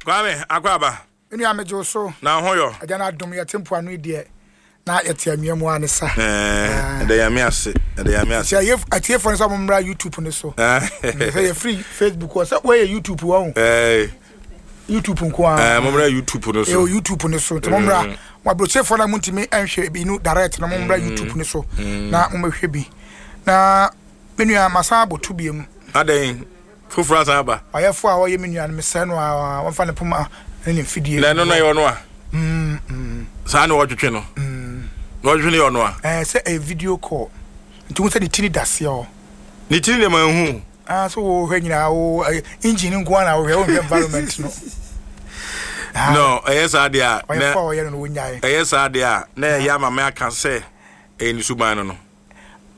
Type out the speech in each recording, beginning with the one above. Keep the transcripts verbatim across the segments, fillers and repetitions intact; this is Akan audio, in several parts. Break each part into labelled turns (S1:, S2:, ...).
S1: Kwame, akɔ aba.
S2: Nua, megye wo so.
S1: Na ho yɔ?
S2: Agya no adom, yɛte mpoano yi deɛ na yɛte anwea mu a ne sa.
S1: Ɛda Nyame ase, ɛda Nyame ase.
S2: Sɛ atiefoɔ no sɛ mommra YouTube no so, sɛ yɛfiri Facebook hɔ sɛ woyɛ YouTube wɔ ho, YouTube nko
S1: a. Mommra YouTube no so.
S2: Ɛwɔ YouTube no so, nti mommra. Mo aburokyefoɔ no a montumi nhwɛ bi no direct no, mommra YouTube no so na mommɛhwɛ bi. Na me nua, masan abɔto biom.
S1: Adɛn, foforɔ asan aba?
S2: Ɔyɛfoɔ a ɔyɛ me nua no, mesrɛ no a wɔmfa ne poma ne ne mfidie.
S1: Na ɛno no yɛ ɔno a saa na wɔtwetwe no, na wɔtwetwe no yɛ ɔno a?
S2: Ɛɛ, sɛ ɛyɛ video call nti wo sɛ ne tiri daseɛ hɔ.
S1: Ne tiri deɛ ma nhu.
S2: Ah, so wɔhwɛ nyinaa wo engine nko ara na wohwɛ, wohwɛ environment no.
S1: No, ɛyɛ saa deɛ a
S2: ɔyɛfoɔ a ɔyɛ no no wɔnyae.
S1: Ɛyɛ saa deɛ a na ɛyɛ ama me aka sɛ ɛyɛ ne suban no no.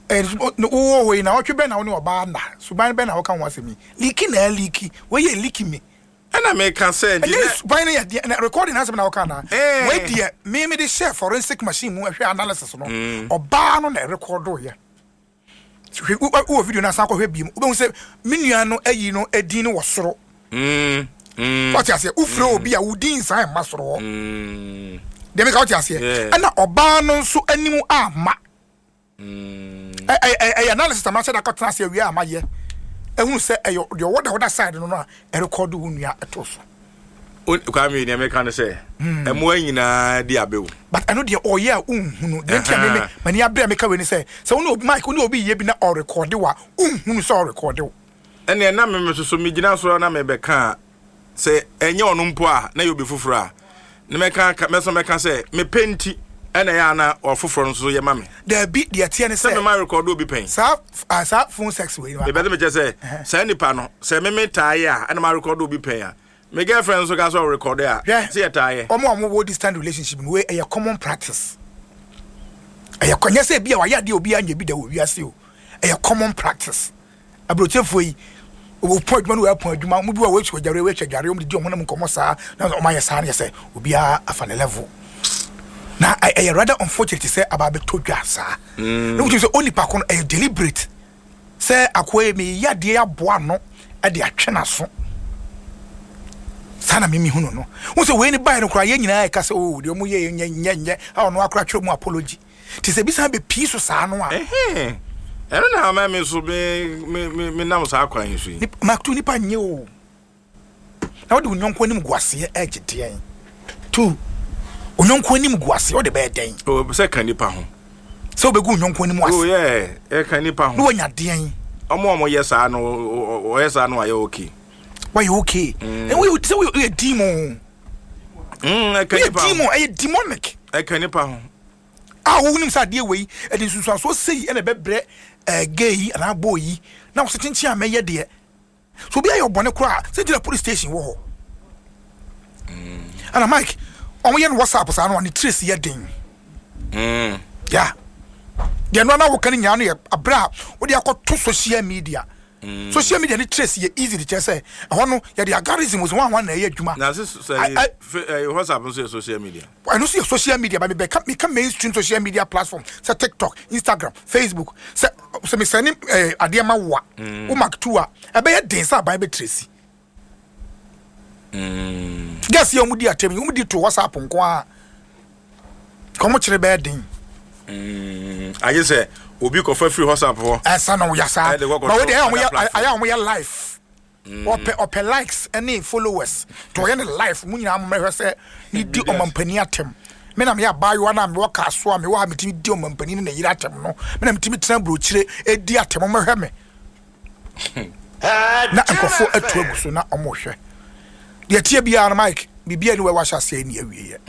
S2: Wowɔ hɔ yi na ɔtwe bɛn na wo ne ɔbaa na suban bɛn na wɔka ho asɛm yi leak na ɛleak, wɔyɛ leak mi.
S1: Ɛna meka sɛ
S2: nti ɛnyɛ suban no yɛ deɛ na recording asɛm na wɔka na wei deɛ me me de hyɛ forensic machine mu ɛhwɛ analysis no, ɔbaa no na ɛrecord yɛ. Hwɛ, wowɔ video no asan kɔhwɛ biem, wobɛhu sɛ me nua no ayi no edin no wɔ soro. Wɔte aseɛ, wofrɛ obi a wodin nsan mma soro hɔ deɛ meka, wote aseɛ? Ɛna ɔbaa no nso anim ama ɛyɛ analysis ama sɛ dakɔtena ase awie a mayɛ ɛhunu sɛ ɛyɛ deɛ ɔwɔ da ɔda side no no a ɛrecord wo nua ɛto so.
S1: Kwame, deɛ meka no sɛ ɛmmoa nyinaa di abɛwo.
S2: But ɛno deɛ ɔyɛ a wonhunu deɛ nti a meme m'ani abere a meka wei ne sɛ sɛ wo ne obi, Mike, wo ne obi yɛ bi na ɔrecord wo a, wonhunu sɛ ɔrecord wo.
S1: Ɛneɛ na meme soso megyina so na mebɛka a sɛ ɛnyɛ ɔno mpo a na yɛ obi foforɔ a ne mɛka mɛsɛ mɛka sɛ mepɛ nti ɛna ɛyɛ ana ɔfoforɔ no nso yɛ ma me.
S2: Daabi, deɛ teɛ ne
S1: sɛ
S2: sɛ
S1: mema record obi pɛn.
S2: Saa ah, saa phone sex wei no.
S1: Mepɛ sɛ mekyɛ sɛ saa nipa no sɛ meme taa yɛ a ɛna ma record obi pɛn a, me girlfriend nso ka sɛ ɔrecord a
S2: Hwɛ.
S1: sɛ yɛtaa yɛ.
S2: Ɔmo a ɔmo wɔ distant relationship no, wei ɛyɛ common practice. Ɛyɛ kɔ nyɛ sɛ ebi a wayɛ adeɛ obi anya bi da wɔ wiase o, ɛyɛ common practice. Aburokyefoɔ yi wɔpɔn adwuma no, wɔapɔn adwuma, ɔmo bi wɔ wɔatwa adware, wɔatwa adware, ɔmo didi ɔmo nam nkɔmɔ saa na ɔmo ayɛ saa no yɛ sɛ obiara afa ne level na ɛ- ɛyɛ rather unfortunate sɛ aba abɛtɔ dwa saa na wotum sɛ onipa ko no ɛyɛ deliberate sɛ akoa yi meyɛ adeɛ aboa no ɛde atwe n'aso saa na mimi hu no no wo sɛ wei ne baeɛ no koraa, yɛn nyinaa ɛka sɛ o deɛ ɔmo yɛ nyɛ nyɛ nyɛ a ɔno akora twerɛ mu apology nti sɛ ebi san bɛpii so saa no a.
S1: Ɛhɛn. Ɛno na ama me so me me me me nam saa kwan yi so yi.
S2: Nip- makto nipa nyɛ o na wode wo nyɔnko anim gu aseɛ ɛgye deɛn tu wo nyɔnko anim gu aseɛ, wode bɛyɛ dɛn?
S1: O sɛ ka nipa ho.
S2: Sɛ wobɛgu wo nyɔnko anim
S1: O
S2: ase
S1: yɛ ɛka nipa
S2: na
S1: ho.
S2: Woanya deɛn?
S1: Ɔmo a ɔmo yɛ saa no, ɔ- ɔ- ɔyɛ saa no ayɛ okay.
S2: Wayɛ okay? Ɛna woyɛ sɛ woyɛ woyɛ demon.
S1: Mm, ɛka
S2: Woyɛ
S1: nipa ho.
S2: demon, ɛyɛ demonic.
S1: Ɛka nipa ho.
S2: A wonim sɛ adeɛ wei ɛde nsunsuansoɔ sei ɛna ɛbɛbrɛ ɛɛ gay yi anaa boy yi na wɔsɛ kyenkyen a mɛyɛ deɛ so obi ayɛ ɔbɔne koraa sɛ gyina police station wɔ hɔ. Ɛna Mike, ɔmo yɛ no WhatsApp saa no a ne trace yɛ den.
S1: Mm.
S2: Ya deɛ no ana woka no nyinaa no yɛ aberɛ a wode akɔto social media. Social media ne trace yɛ easy de kyerɛ sɛ ɛhɔ no yɛde algorithm sɛ wɔn a wɔn na ɛyɛ adwuma.
S1: Na sɛ sɛ
S2: I- I-
S1: fe- ɛyɛ WhatsApp nso yɛ social media.
S2: Ɛno nso yɛ social media, but mebɛka meka mainstream social media platform sɛ TikTok, Instagram, Facebook. sɛ sɛ mesɛne eh, adeɛ ma wo a wo mark two a, ɛbɛyɛ den sɛ aban bɛtrace. Gas yɛ ɔmo di atɛm yi, ɔmo di to WhatsApp nko a kɔmo kyerɛ bɛyɛ den.
S1: Mm. Agye sɛ obi kɔfa firi WhatsApp hɔ.
S2: Ɛsa na ɔyɛ saa.
S1: Ɛde kɔ kɔto
S2: But wo deɛ ɛyɛ a ɔmo yɛ
S1: other platform.
S2: Ayɛ a ɔmo yɛ live, ɔpɛ ɔpɛ likes ɛne followers to ɔyɛ ne live mu nyinaa mo mɛhwɛ sɛ ne di ɔmampanin atɛm. Me na meyɛ abaayewa na mewɔ kaa so a mewɔ ha, metumi di ɔmampanin ne ne yere atɛm no, me na metumi tena burokyire edi atɛm, mɛhwɛ me na nkurɔfoɔ atu agu so na ɔmo hwɛ deɛ tie biara no. Mike, biribiara ni wɔ wahyɛ aseɛ ni awieɛ.